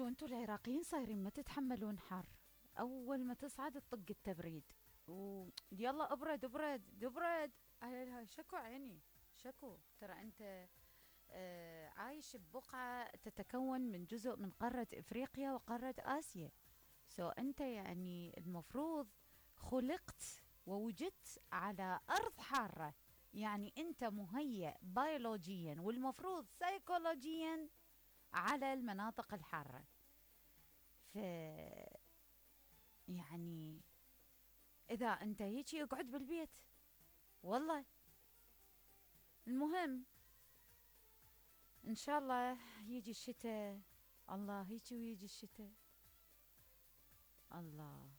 شو انتوا العراقيين صايرين ما تتحملون حر؟ اول ما تصعد تطق التبريد ويلا ابرد ابرد ابرد. شكو عيني شكو. ترى انت عايش ببقعة تتكون من جزء من قارة افريقيا وقارة اسيا. انت يعني المفروض خلقت ووجدت على ارض حارة. يعني انت مهيأ بيولوجيا والمفروض سيكولوجيا على المناطق الحارة. ف يعني اذا انت هيجي اقعد بالبيت والله. المهم ان شاء الله يجي الشتاء. الله هيجي ويجي الشتاء. الله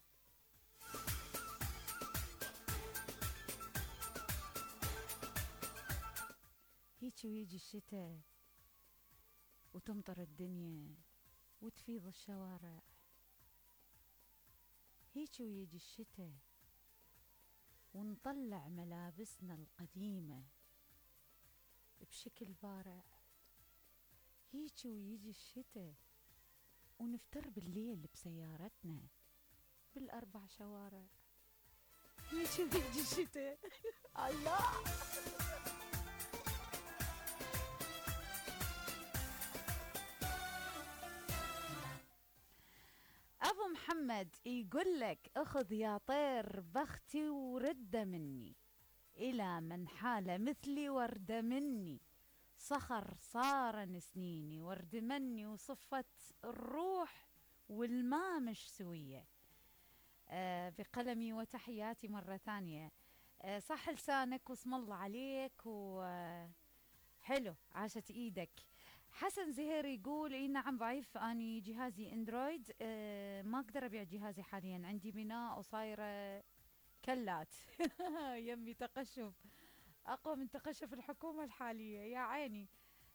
هيجي ويجي الشتاء وتمطر الدنيا وتفيض الشوارع. هيجي ويجي الشتاء ونطلع ملابسنا القديمة بشكل بارع. هيجي ويجي الشتاء ونفتر بالليل بسيارتنا بالأربع شوارع. هيجي ويجي الشتاء. الله. أبو محمد يقول لك اخذ يا طير بختي ورده مني إلى من حال مثلي ورده مني. صخر صار سنيني ورد مني وصفت الروح والماء مش سوية. بقلمي وتحياتي مرة ثانية. صح لسانك واسم الله عليك حلو عاشت ايدك. حسن زهير يقول اي نعم ضعيف اني جهازي اندرويد. ما اقدر ابيع جهازي حاليا عندي بناء وصايره كلات. يمي تقشف اقوى من تقشف الحكومه الحاليه يا عيني.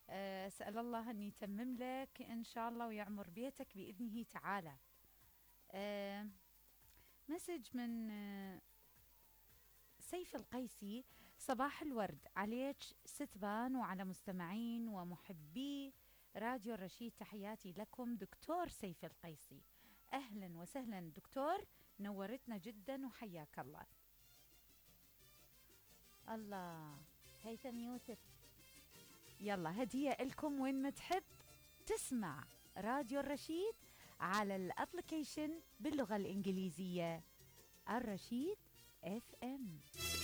اسال الله ان يتمم لك ان شاء الله ويعمر بيتك باذنه تعالى. مسج من سيف القيسي. صباح الورد عليك ستبان وعلى مستمعين ومحبي راديو الرشيد. تحياتي لكم دكتور سيف القيسي. أهلا وسهلا دكتور نورتنا جدا وحياك الله. الله هيثم يوسف يلا هدية لكم وين ما تحب تسمع راديو الرشيد على الابليكيشن باللغة الإنجليزية الرشيد FM.